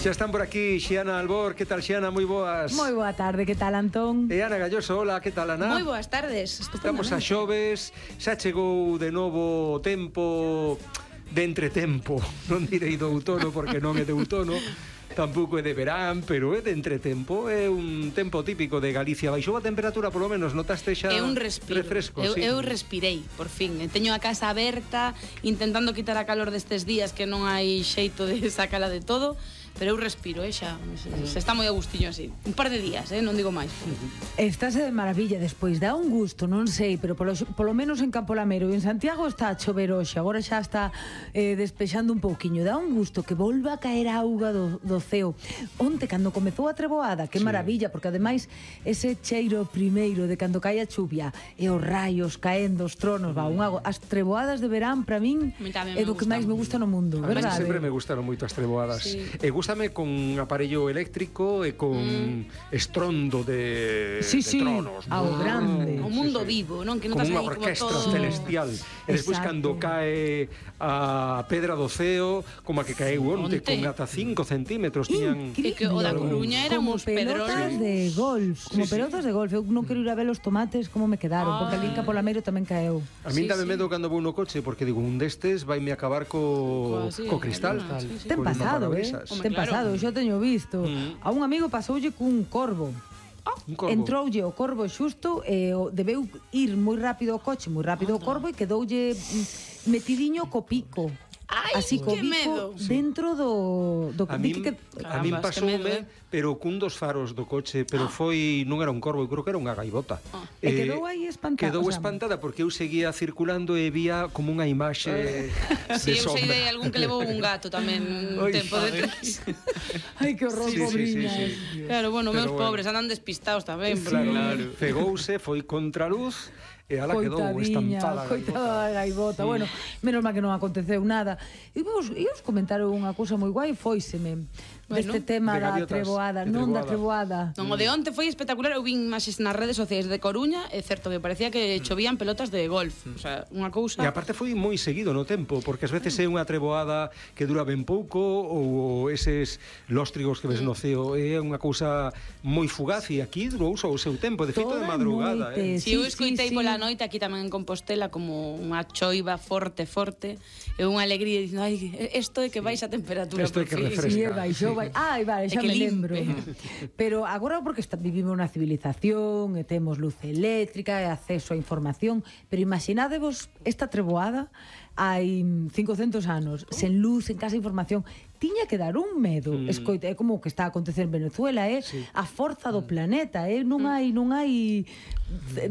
Xa están por aquí Xiana Albor. Que tal, Xiana? Moi boas. Moi boa tarde, que tal, Antón? E Ana Galloso, hola, que tal, Ana? Moi boas tardes. Estamos a xoves, xa chegou de novo o tempo de entretempo. Non direi do outono porque non é de outono, tampouco é de verán, pero é de entretempo. É un tempo típico de Galicia. Baixou a temperatura, polo menos, notaste xa É un respiro. refresco, Eu respirei, por fin. Teño a casa aberta, intentando quitar a calor destes días que non hai xeito de sacala de todo, pero eu respiro, xa. Se está moi a gustiño así. Un par de días, non digo máis. Estás de maravilla despois, dá un gusto, non sei, pero polo menos en Campo Lamero e en Santiago está a chover hoxe, agora xa está despexando un pouquiño, dá un gusto que volva a caer auga do ceo. Onte, cando comezou a treboada, que maravilla, porque ademais ese cheiro primeiro de cando cae a chuvia e os raios caendo, os tronos, as treboadas de verán, para min, é do que máis me gusta no mundo, verdade? Sempre me gustaron moito as treboadas. Sí. E gústame con aparello eléctrico e con estrondo de tronos. Ao grande. O mundo vivo, non? Que non como estás unha aí como orquestra todo celestial. E despois cando cae a pedra do ceo, como a que caeu onte, con ata 5 centímetros tiñan... E que o da Coruña eran uns pelotas pedrones. de golf, como pelotas de golf. Eu non quero ir a ver os tomates como me quedaron, porque ali en Campo Lamero tamén caeu. A min dame medo cando vou no coche, porque digo, un destes vai me acabar co cristal. Ten pasado, ten pasado, yo teño visto. A un amigo pasoulle cun corvo. Entroulle o corvo xusto e debeu ir moi rápido o coche, moi rápido o corvo, e quedoulle metidiño co pico. Ai, así co que bico medo. Dentro do A min pasoume, pero cun dos faros do coche, pero foi, non era un corvo, eu creo que era unha gaivota. E quedou aí espantada. Quedou espantada porque eu seguía circulando e vía como unha imaxe de eu sei de algún que levou un gato tamén un tempo detrás. Ai, que horror, pobriñas. Claro, bueno, meus pobres andan despistados tamén. Claro. Fegouse, foi contra luz e ala quedou estampada. Coitada da gaivota. Bueno, menos mal que non aconteceu nada. E vos comentar unha cousa moi guai, fóiseme deste tema da treboada, non da treboada. Non, o de onte foi espectacular. Eu vin imaxes nas redes sociais de Coruña, é certo que parecía que chovían pelotas de golf. O sea, unha cousa... E aparte foi moi seguido no tempo, porque ás veces é unha treboada que dura ben pouco, ou eses lóstrigos que ves no ceo, é unha cousa moi fugaz, e aquí durou só o seu tempo, de feito de madrugada. Si eu escoitei pola noite aquí tamén en Compostela como unha choiva forte, e unha alegría dicindo, ai, isto é que baixa a temperatura. Isto é que refresca. Ai, vale, xa me lembro. Pero agora porque vivimos na civilización e temos luz eléctrica e acceso a información, pero imaginádevos esta treboada hai 500 anos, sen luz, sen casa información, tiña que dar un medo. Escoita, é como o que está a acontecer en Venezuela, a forza do planeta, non hai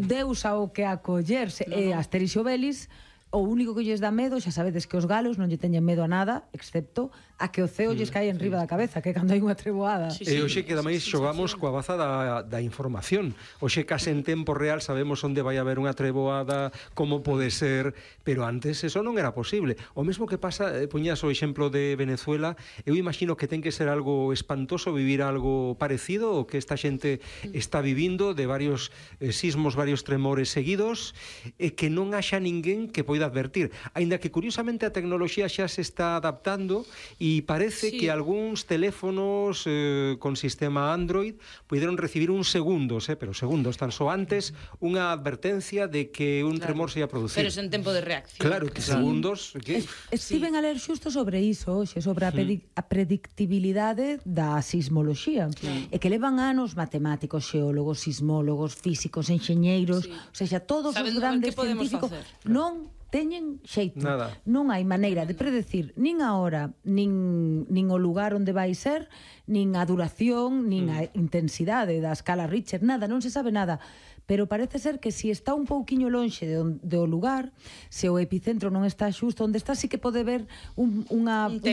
Deus ao que acollerse. E Asterix e Obelix, o único que lles dá medo, xa sabedes que os galos non lle teñen medo a nada, excepto a que o ceo lles cae enriba da cabeza, que cando hai unha treboada. E hoxe que tamén xogamos coa baza da información. Hoxe case en tempo real sabemos onde vai haber unha treboada, como pode ser, pero antes eso non era posible. O mesmo que pasa, poñas o exemplo de Venezuela, eu imagino que ten que ser algo espantoso vivir algo parecido o que esta xente está vivindo, de varios sismos, varios tremores seguidos, e que non haxa ninguén que poida advertir, aínda que curiosamente a tecnoloxía xa se está adaptando e parece que algúns teléfonos con sistema Android puderon recibir uns segundos, pero segundos tan só antes, unha advertencia de que un tremor se ia producir. Pero sen tempo de reacción. Claro, que segundos... Estiven a ler xusto sobre iso hoxe, sobre a predictibilidade da sismoloxía, e que levan anos matemáticos, xeólogos, sismólogos, físicos, enxeñeiros, o sea, todos os grandes científicos non teñen xeito. Nada. Non hai maneira de predecir nin a hora, nin o lugar onde vai ser, nin a duración, nin a intensidade da escala Richter, nada, non se sabe nada. Pero parece ser que si está un pouquiño lonxe do lugar, se o epicentro non está xusto onde está, sí que pode ver un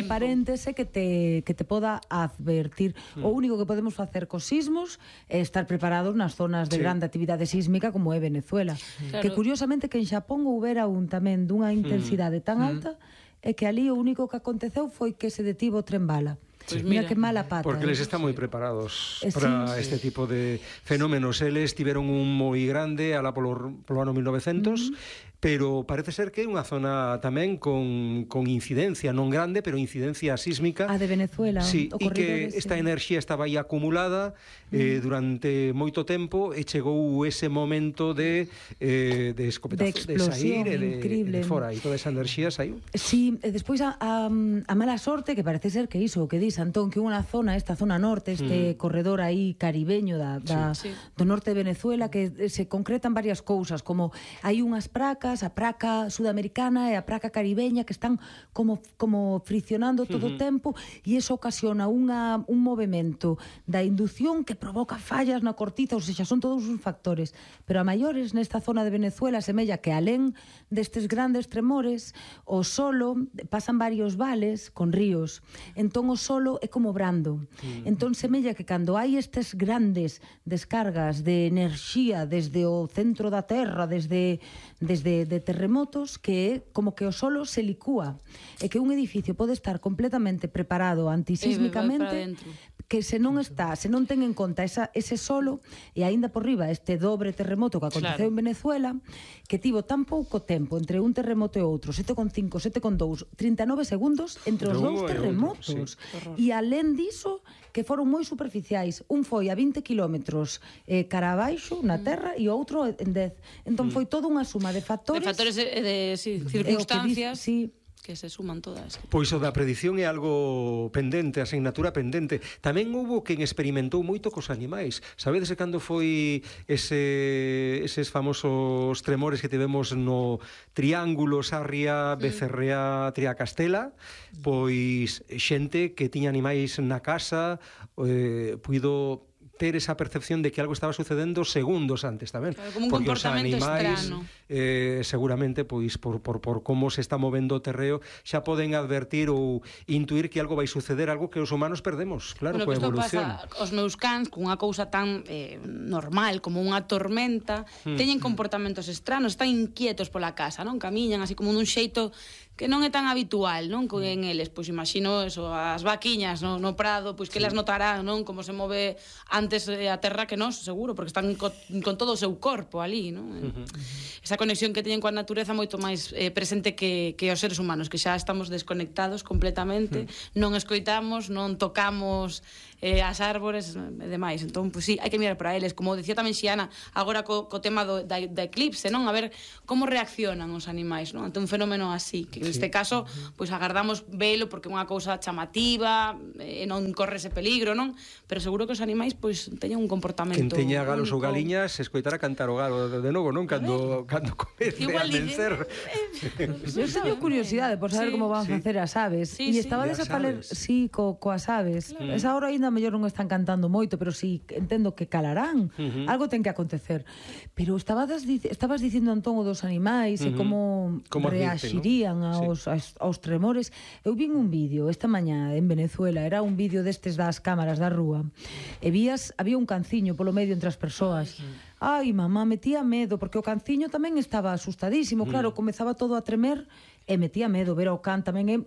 paréntese que te poda advertir. O único que podemos facer cos sismos é estar preparados nas zonas de grande actividade sísmica como é Venezuela. Que curiosamente que en Xapón houbera un tamén dunha intensidade tan alta, é que ali o único que aconteceu foi que se detivo o tren bala. Pues mira que mala pata. Porque eles están moi preparados para este tipo de fenómenos. Eles tiveron un moi grande alá polo ano 1900, pero parece ser que é unha zona tamén con incidencia, non grande, pero incidencia sísmica. A de Venezuela, sí, o e que corredor esta ese. enerxía estaba aí acumulada durante moito tempo e chegou ese momento de escopetazo, de sair e de fora, e toda esa enerxía saiu. Sí, e despois a mala sorte, que parece ser que iso, o que dis, Antón, que unha zona, esta zona norte, este corredor aí caribeño do norte de Venezuela, que se concretan varias cousas, como hai unhas placas, a praca sudamericana e a praca caribeña, que están como friccionando todo o tempo, e iso ocasiona un movimento da inducción que provoca fallas na cortiza, ou seja, son todos os factores. Pero a maiores nesta zona de Venezuela semella que alén destes grandes tremores, o solo pasan varios vales con ríos. Entón o solo é como brando. Entón semella que cando hai estes grandes descargas de enerxía desde o centro da terra, desde de terremotos, que é como que o solo se licúa, e que un edificio pode estar completamente preparado antisísmicamente, que se non ten en conta ese solo, e aínda por riba este dobre terremoto que aconteceu en Venezuela, que tivo tan pouco tempo entre un terremoto e outro, 7,5, 7,2, 39 segundos entre os dous terremotos. E alén diso, que foron moi superficiais. Un foi a 20 kilómetros cara abaixo na terra e o outro en 10. Entón foi toda unha suma de factores. De factores de circunstancias. Sí, que se suman todas. Pois o da predición é algo pendente, asignatura pendente. Tamén houbo quen experimentou moito cos animais. Sabedes cando foi eses famosos tremores que tivemos no Triángulo, Sarria, Becerrea, Triacastela? Pois xente que tiña animais na casa puido ter esa percepción de que algo estaba sucedendo segundos antes tamén. Claro, como un porque comportamento os animais, estrano. Seguramente, pois por como se está movendo o terreo, xa poden advertir ou intuir que algo vai suceder, algo que os humanos perdemos, claro, coa evolución. Pasa, os meus cans, con unha cousa tan normal como unha tormenta, teñen comportamentos estranos, están inquietos pola casa, non? Camiñan así como dun xeito que non é tan habitual, non? En eles, pois imagino eso, as vaquiñas no prado, pois que elas notarán, non? Como se move antes a terra que nós, seguro, porque están con todo o seu corpo ali, non? Esa conexión que teñen coa natureza moito máis presente que os seres humanos, que xa estamos desconectados completamente, non escoitamos, non tocamos as árbores e demais. Entón, pois sí, hai que mirar para eles, como decía tamén Xiana, agora co tema da eclipse, non? A ver como reaccionan os animais, non? Ante un fenómeno así, que neste caso, pois agardamos velo porque é unha cousa chamativa, e non corre ese peligro, non? Pero seguro que os animais pois teñen un comportamento. Quen teña galos ou galiñas escoitara cantar o galo de novo, non? Cando comece a vencer. Eu teño curiosidade por saber como van facer as aves. E estabades a falar coas aves. Esa hora aínda mellor non están cantando moito, pero si entendo que calarán. Algo ten que acontecer. Pero estabas dicindo, Antón, o dos animais e como reaxirían aos tremores. Eu vin un vídeo esta mañá en Venezuela, era un vídeo destes das cámaras da rúa, e había un canciño polo medio entre as persoas. Ai, mamá, metía medo, porque o canciño tamén estaba asustadísimo, claro, comezaba todo a tremer e metía medo ver ao can tamén.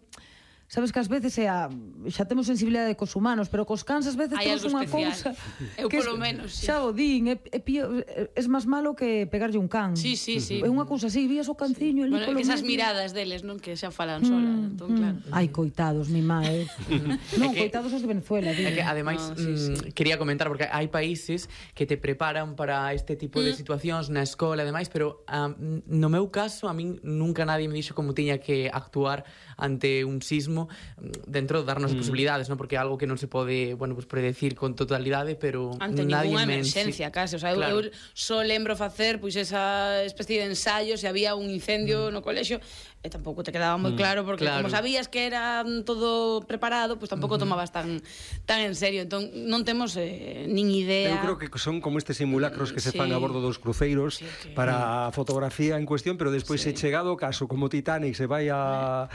Sabes que ás veces xa temos sensibilidade cos humanos, pero cos cans ás veces temos unha cousa. Eu polo menos, xa o din, é máis malo que pegarlle un can. Sí. É unha cousa así, vías o canciño ali polo medio. Esas miradas deles, non, que xa falan solas, entón claro. Ai, coitados, mi má, Non, coitados os de Venezuela, É que ademais quería comentar porque hai países que te preparan para este tipo de situacións na escola e demais, pero no meu caso a min nunca nadie me dixo como tiña que actuar ante un sismo dentro de darnos posibilidades, non? Porque é algo que non se pode, bueno, pues predecir con totalidade, pero ante ninguna emerxencia, case, o sea, eu só lembro facer pois esa especie de ensayo se había un incendio no colexio, e tampouco te quedaba moi claro porque como sabías que era todo preparado, pois tampouco tomabas tan en serio. Entón non temos nin idea. Eu creo que son como estes simulacros que se fan a bordo dos cruceiros para a fotografía en cuestión, pero despois se chegado o caso como Titanic se vai a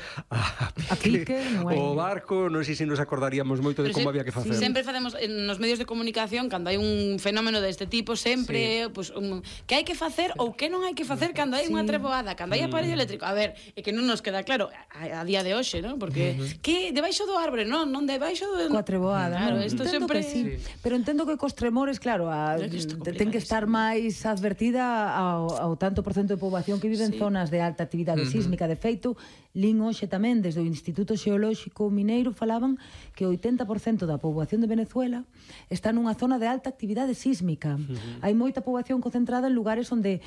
que non hai. O barco, non sei se nos acordaríamos moito de como había que facer. Sempre facemos nos medios de comunicación, cando hai un fenómeno deste tipo, sempre pues, que hai que facer ou que non hai que facer cando hai unha treboada, cando hai aparello eléctrico. A ver, é que non nos queda claro a día de hoxe, ¿no? Porque que debaixo do árbore, non debaixo do Coa treboada, claro, non? isto Entendo sempre que sí. Pero entendo que cos tremores, claro, ten que estar máis advertida ao tanto por cento de poboación que vive en zonas de alta actividade sísmica. De feito, lin hoxe tamén desde o Instituto Xeolóxico Mineiro falaban que o 80% da poboación de Venezuela está nunha zona de alta actividade sísmica. Hai moita poboación concentrada en lugares onde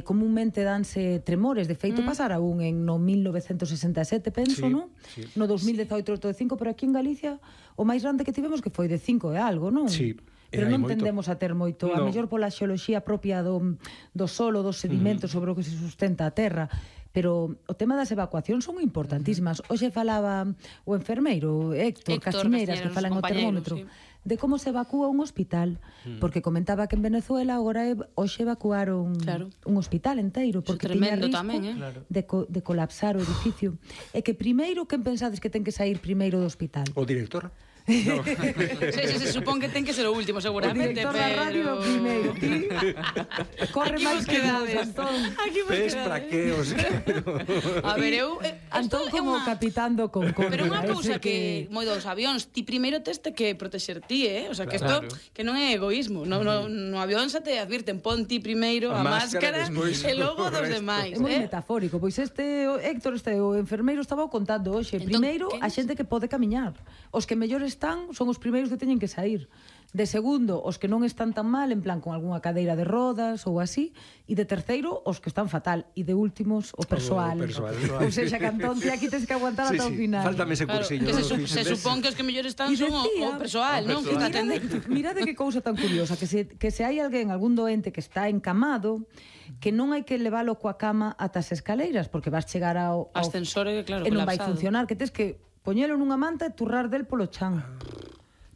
comúnmente danse tremores. De feito, pasara un no 1967, penso, non? No 2018 de 5, pero aquí en Galicia o máis grande que tivemos que foi de 5 e algo, non? Sí. Pero non tendemos a ter moito, a mellor pola xeoloxía propia do solo, dos sedimentos sobre o que se sustenta a terra, pero o tema das evacuacións son importantísimas. Hoxe falaba o enfermeiro Héctor Castiñeiras, que fala en o termómetro, de como se evacúa un hospital, porque comentaba que en Venezuela agora hoxe evacuaron un hospital enteiro, porque tiña risco tamén, de colapsar o edificio. E que primeiro, quen pensades que ten que sair primeiro do hospital? O director? No. Se supón que ten que ser o último, seguramente. O director da radio o primeiro. Ti corre máis que nada, Antón. Pes traqueos. A ver, Antón como capitán do Concorde. Pero unha cousa que moi dos avións, ti primeiro teste que protexer ti, O sea, que isto que non é egoísmo. No avión xa te advirten, pon ti primeiro a máscara e logo dos demais. É moi metafórico, pois Héctor, o enfermeiro estaba contando hoxe. Primeiro, a xente que pode camiñar. Os que mellor están son os primeiros que teñen que sair. De segundo, os que non están tan mal, en plan con algunha cadeira de rodas ou así, e de terceiro, os que están fatal, e de últimos, o persoal. Ou seja, Cantón, ti aquí tens que aguantar ata o final. Faltame ese cursillo. Se supón que os que mellor están son o persoal, non? Que está atendendo. Mirade que cousa tan curiosa, que se hai alguén, algún doente que está encamado, que non hai que leválo coa cama ata as escaleiras, porque vas chegar ao ascensor, claro, e non vai funcionar, que tes que poñelo nunha manta e turrar del polo chan.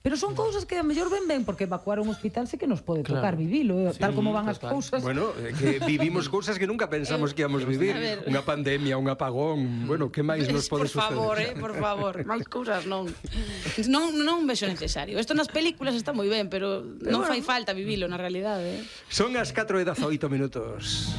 Pero son cousas que a mellor ben, porque evacuar un hospital sí que nos pode tocar vivilo, tal como van as cousas. Bueno, que vivimos cousas que nunca pensamos que íamos vivir. Unha pandemia, un apagón, bueno, que máis nos pode suceder? Por favor, máis cousas non vexo necesario. Isto nas películas está moi ben, pero non fai falta vivilo na realidade. Son as 4:18 minutos.